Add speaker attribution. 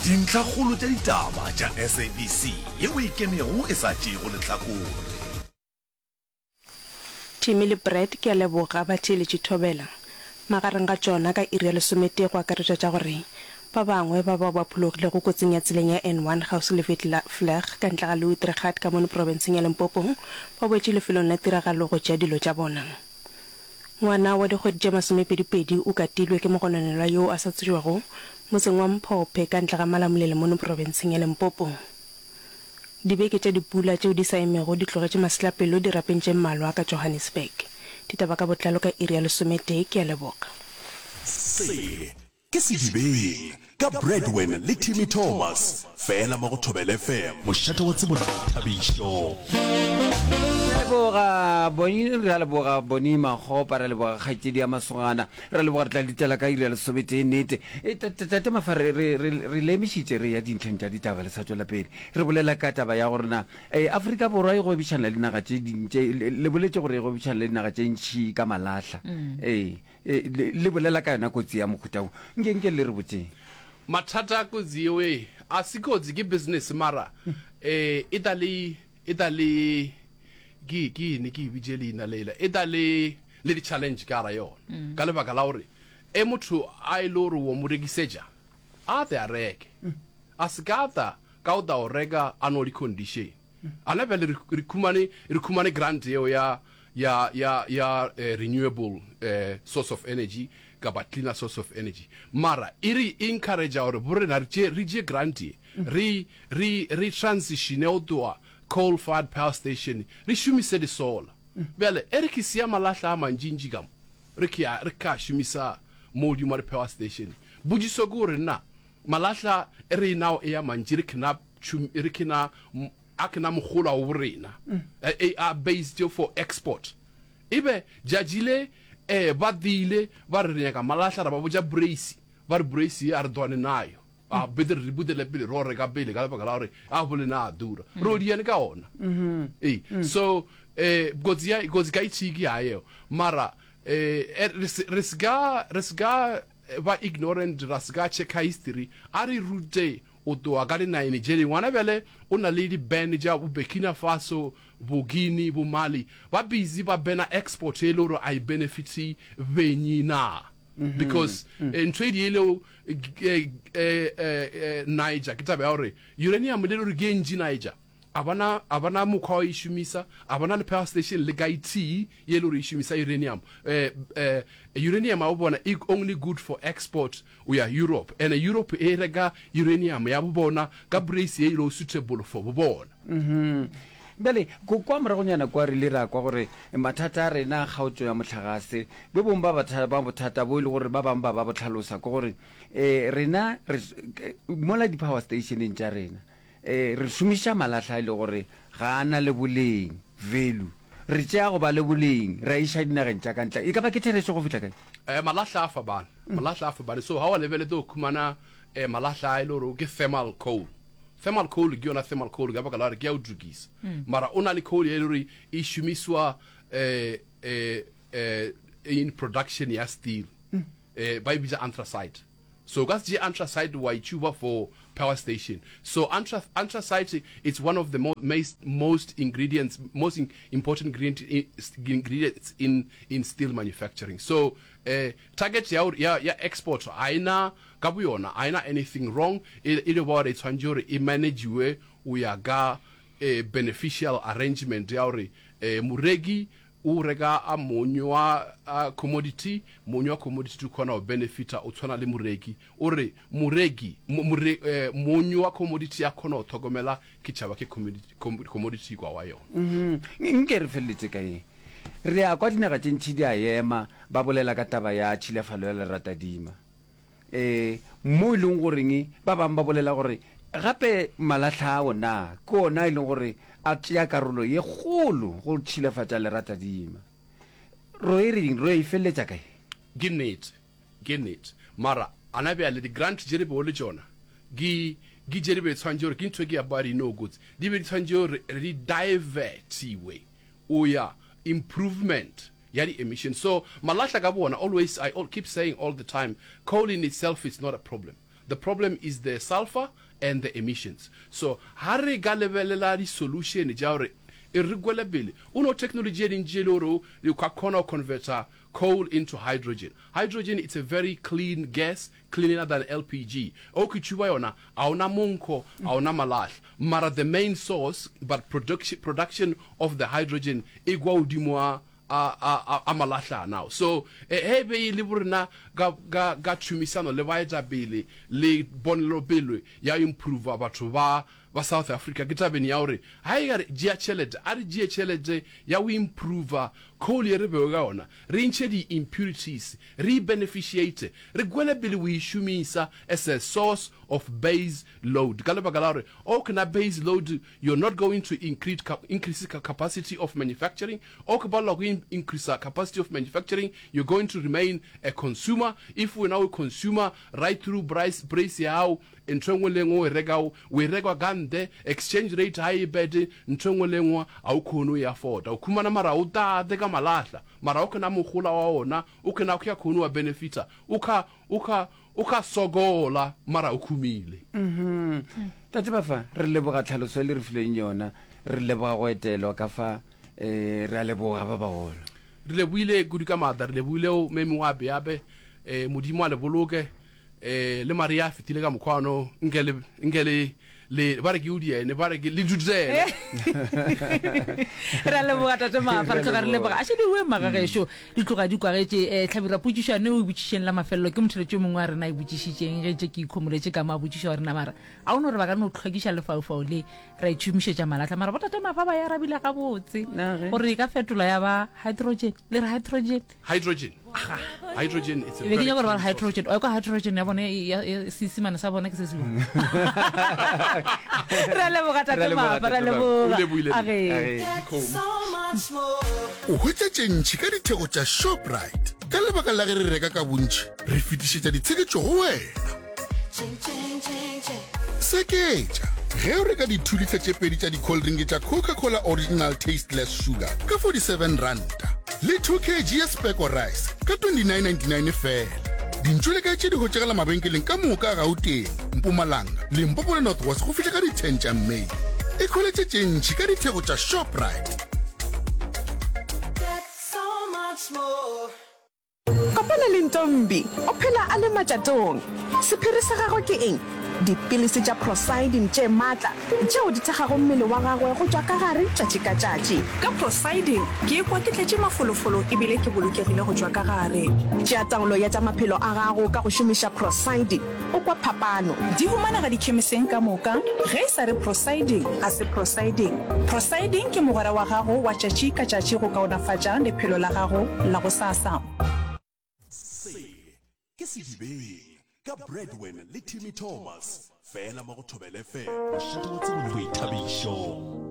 Speaker 1: Dintlhakgolo tša ditaba tša SABC yeo e ikemego e sa tšeego lehlakore.
Speaker 2: Timmy le Brad ke a leboga ba theeletše Thobela. Magareng ga tšona ka iri ya lesometee go akaretšwa tša gore ba bangwe ba bao ba phologilego kotsing ya tseleng ya N1 kgauswi le Witvlei ka ntle ga Louis-Trichardt ka mono profenseng ya Limpopo ba boetše lefelong la tiragalo go tšea dilo tša bona. Ngwana wa dikgwedi tše masomepedipedi o katilwe ke mogononelwa yoo a sa tsebjego motseng wa Mphophe ka ntle ga Malamulele mono profenseng ya Limpopo. Dibeke tša dipula tšeo di sa emego di tlogetše masetlapelo dirapeng tše mmalwa ka Johannesburg. Ditaba ka botlalo ka iri ya lesometee. Ke a leboga.
Speaker 1: Se ke Sedibeng ka Bradwin le Timmy Thomas, fela mo go Thobela FM, mošate wa tsebo le boithabišo.
Speaker 3: Re a leboga Boni, re a leboga Boni Makgopa, re a leboga kgaetšedi ya Masogana, re a leboga re tla ditela ka iri ya lesometee nnete. E, tate Mafa, re, re, re, re leemišitše re ya dintlheng tša ditaba le sa tšwela pele. Re bolela ka taba ya gore na e, Afrika Borwa e gwebišana le dinaga tše ding tše, le, le boletše gore e gwebišana le dinaga tše ntši ka malahla. Ee, e, le, le bolela ka yona kotsi ya mohuta wo. Nke, nke le re botšeng.
Speaker 4: Mathata a kotsi yeo e, a se kotsi, ke business mara e, e ta le, e ta le, ke, ke eng ke e bitše leina lela, e ta le, le di-challenge ka gara yona. Ka lebaka la gore e motho a e le gore wo mo rekisetša, a tle a reke. A se ka tla ka o tla o reka a no le condition. Ana bjale re, re khumane, re khumane grant yeo ya, ya, ya, ya eh, renewable eh, source of energy kapa cleaner source of energy. Mara e re encourage gore bo rena re tše, re tše grant ye, re, re, re transitione go tloga coal fired power station re šomise di solar. Bjale e re ke sia malahla a mantšintši ka mo, re ke a, re ka šomisa mo godimo ga di power station. Potšiso ke gore na Malahla e re nao e ya mantši re kena tšhum re kena a kena mogola wo borena e a based for export e be judge le eh ba dile ba re re nyaka malahla ra ba botša brace ba re brace ye a re dwane nayo a bete re budele pele ro reka pele ka lebaka la gore a bole na a dura ro diane ka ona ee so eh kotsi ya kotsi ka itshiki ya yeo mara eh re se ka re se ka Ba ignorant ra se ka checka history a re rute o tloga ka di nine jele ngwana bjale o na le di ban tša bo Burkina Faso bo Guinea bo Mali ba busy ba bana export e le gore a e benefit benyi na because ntho e di ele Niger ke taba ya gore uranium le gore ke e ntši Niger A ba na, a ba na mokgwa wa e šomisa, a ba na le power station le ka e tee ye e le gore e šomisa uranium. Eh, eh, uranium ya bo bona e only good for export o ya Europe. And Europe e reka uranium ya bo bona ka price ye e lego suitable for bo bona.
Speaker 3: Mhm. Bjale, ko, kwa moragonyana kwa re ile ra kwa gore mathata a rena a kgaotšo ya mohlagase, bo bongwe ba batha, ba bothata bo e le gore ba bangwe ba ba bo hlalosa ke gore, eh, rena re, mola di-power stationeng tša rena, Ee, re šomiša malahla e le gore ga a na le boleng, value. Re tšea go ba le boleng, re a iša dinageng tša ka ntle. E ka ba ke therešo go fihla kae?
Speaker 4: Eh, malahla a fapane, malahla a fapane. So ga wa lebelete o khumana eh, malahla a e le gore ke thermal coal. Thermal coal ke yona thermal coal ka baka la gore ke ya go tukisa. Mara o na le coal e le gore e šomiswa eh, eh, eh, in production ya steel. Eh, ba e bitša anthracite. So o ka se tšee anthracite wa e tšuba for power station. So anthra, anthracite it's one of the mo, most, most ingredients, most in, important ingredient, ingredients in, in steel manufacturing. So eh, target ya, ya, ya export ga e na ka boyona ga e na anything wrong, e, e le ba gore e tshwanetse gore e managiwe o ya ka eh, beneficial arrangement ya gore eh, moreki O reka a mony wa a commodity, mony wa commodity o kgona go benefita o tshwana le moreki. O re moreki, more, eh, mony wa commodity a kgona go tlhokomela ke tšhaba ke commodity, commodity kwa wa yona.
Speaker 3: Mm Nke re feleletše ka eng? Re a kwa dinaga tše ntši di a ema ba bolela ka taba ya tšhilafalo ya leratadima. Ee, mo e leng goreng ba bangwe ba bolela gore gape malahla ao na ke ona e leng gore a tšea karolo ye kgolo go tšhilafatša leratadima. Ro e reng? Ro e feleletša kae?
Speaker 4: Ke nnete, ke nnete. Mara ana bjale di-grant tše re bego le tšona ke, ke tše di be tshwanetše gore ke ntho e ke ya ba di no kotsi, di be di tshwanetše gore re di divertiwe o ya improvement ya di emission. So malahla ka bo ona always I all keep saying all the time coal in itself is not a problem. The problem is the sulfur and the emissions. So ha re ka lebelela di solution tša gore e re kwele pele, o no technology e dintši e le gore o ka kgona go converter coal into hydrogen. Hydrogen it's a very clean gas, cleaner than LPG. O ke tšhuba yona, a ona monkgo, a ona malahla. Mara the main source, but production, production of the hydrogen e kwa godimo a a, a, a malahla now. So, ge e be e le borena ka, ka, ka tšhomisano le baetapele le ponelopele ya improva batho ba, ba South Africa, ke tabeng ya gore ga e ka re tšea tšhelete, a re tšee tšhelete ya go improva coal ye re bego ka yona, re ntšhe di-impurities, re e beneficiate, re kwele pele go e šomisa as a source of base load. Ka lebaka la gore o ke na base load, you're not going to increase, increase capacity of manufacturing, o ke palelwa go increase capacity of manufacturing, you're going to remain a consumer. If wena o consumer right through price, price ya gago, ntho e nngwe le nngwe o e rekago, o e reka ka ntle, exchange rate ga e bad, ntho e nngwe le nngwe ga o kgone o e afforda. O khumana mara o tate ka malahla, mara o kena mogola wa ona, o kena o kgone wa benefita, o kha, o kha, o kha sokola mara o khumile.
Speaker 3: Mhm. Tate Bafa, re leboga tlhaloso e le re fileng yona, re leboga go etelwa ka fa, eh, re a leboga ba bagolo.
Speaker 4: Re leboile kudu ka maatla, re leboile o memi wa beabe, eh, Modimo a le boloke, eh, le Maria a fetile ka mokgwa ono, nke le, nke le, le, ba re ke o diene, ba re ke le dutele.
Speaker 5: Re a leboga Tate Mafa, re tloga re leboga. A šediwe magagešo, di tloga di kwagetše. Eh, Hlabirwa, potšišo yane o e botšišeng la mafelelo ke motheletši yo mongwe wa rena a e botšišitšeng ge ntše ke ikhomoletše ka mo a botšiša gore na mara a o no re ba ka no hlwekiša lefaufau le ra itšhomišetša malahla mara botate Mafa ba e arabile gabotse gore e ka fetolwa ya ba hydrogen le re hydrogen
Speaker 4: Hydrogen. Hydrogen it's a
Speaker 5: be ke
Speaker 4: very
Speaker 5: nyaka gore ba re
Speaker 4: clean source.
Speaker 5: hydrogen o kwa hydrogen ya bone ya- ya- seesimane sa bone ke se se bjang re a leboga
Speaker 3: Re a
Speaker 5: tate
Speaker 3: leboga,
Speaker 5: Mafa re a
Speaker 3: Tate Mafa.
Speaker 4: O
Speaker 5: leboga
Speaker 4: lebohile
Speaker 5: a
Speaker 4: nna.
Speaker 5: ge
Speaker 3: Age.
Speaker 4: Dikgomo.
Speaker 6: O hwetša tše ntši ka ditheko tša Shoprite. Ka lebaka la ge re reka ka bontši, re fetišetša ditsheketšo go wena. Seketša ge o reka di-two-litre tše pedi tša di-cold drink tša Coca-Cola Original Tasteless Sugar ka 47 ranta le 2 kg ya Speko Rice ka 29.99 feela. Dintšu le kae tše di hwetšagala mabenkeleng ka moka a Gauteng, Mpumalanga, Limpopo le North West go fihla ka di-10 tša May. Ikhweletše tše ntši ka ditheko tša Shoprite.
Speaker 7: Kopana le Ntombi, o phela a le matšatong. Sephiri sa gagwe ke eng? Dipilisi tša Procyldin tše matla tšeo di thekgago mmele wa gagwe go tšwa ka gare tšatši ka tšatši.
Speaker 8: Ka Procyldin, ke ikwa ke tletše mafolofolo e bile ke bolokegile go tšwa ka gare.
Speaker 7: Tšea taolo ya tša maphelo a gago ka go šomiša Procyldin. O kwa phapano.
Speaker 8: Di humanega dikhemiseng ka moka. Ge e sa re Procyldin, ga se Procyldin. Procyldin ke mogwera wa gago wa tšatši ka tšatši go kaonafatša lephelo la gago la gosasa.
Speaker 1: Se ke Sedibeng ka Bradwin le Timmy Thomas, fela mo go Thobela FM, mošate wa tsebo le boithabišo.